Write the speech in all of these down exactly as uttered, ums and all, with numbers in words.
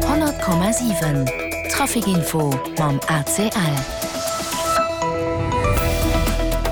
Honnert Komma siwen, Trafic Info mam A C L.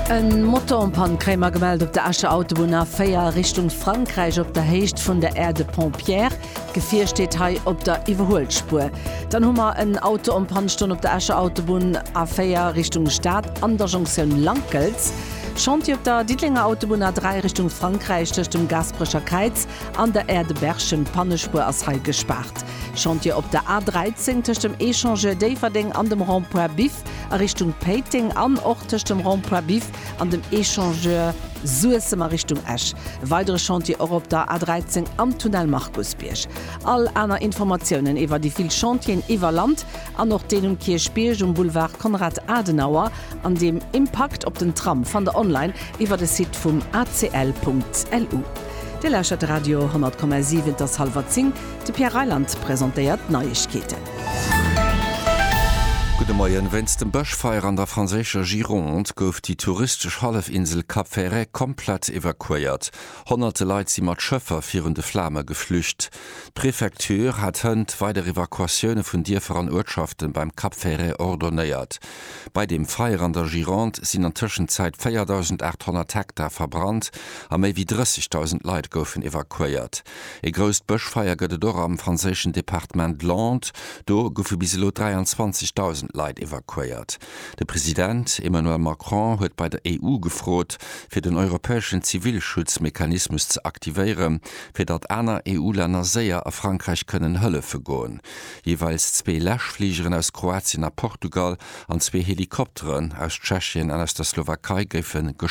En Moto en panne kréie mer gemellt op der Escher Autobunn A véier Richtung Frankräich op der Héicht vun der Aire de Pompière. D'Gefier steet hei op der Iwwerhuelspuer. Dann hu mer en Auto en panne stoen op der Escher Autobunn A véier Richtung Stad an der Jonktioun Lankels. Chantier op der Diddelenger Autobunn A dräi Richtung Frankräich tëscht dem Gaasperecher Kräiz an der Aire de Berchem, d'Pannespuer ass hei gespaart. Chantier op der A dräizéng tëscht dem Echangeur Déifferdeng an dem Rond-point Biff a Richtung Péiteng an och tëscht dem Rond-point Biff an dem Echangeur Suessem a Richtung Esch. E weidere Chantier och op der A dräizéng am Tunnel Markusbierg. All aner Informatiounen iwwer déi vill Chantieren iwwer Land an och deen um Kierchbierg um Boulevard Konrad Adenauer an dem Impakt op den Tram fannt der online iwwer de Site vum A C L Punkt L U. Dir lauschtert Radio honnert Komma siwen, et ass hallwer zéng. De Pierre Reyland presentéiert d'Neiegkeeten. Gudde Moien. Wéinst dem Bëschfeier an der franséischer Gironde gouf déi touristesch Hallefinsel Cap Ferret komplett evakuéiert. Honnerte Leit si mat Schëffer virun de Flame geflücht. D'Prefecture hat hënt weider Evakuatioune vun Dierfer an Uertschafte beim Cap Ferret ordonéiert. Bei dem Feier an der Gironde sinn an Tëschenzäit véierdausendaathonnert Hektar verbrannt a méi wéi drëssegdausend Leit goufen evakuéiert. Ee grousst Bëschfeier gëtt et och am franséischen Departement Landes, do goufe bis elo dräianzwanzegdausend Leit evakuéiert. De President Emmanuel Macron huet bei der E U gefrot, fir den europäeschen Zivilschutzmechanismus ze aktivéieren, fir datt aner E U-Länner séier a Frankräich kënnen hëllefe goen. Jeeweils zwee Läschfligeren aus Kroatien a Portugal an zwee Helikopteren aus Tschechien an aus der Slowakei géife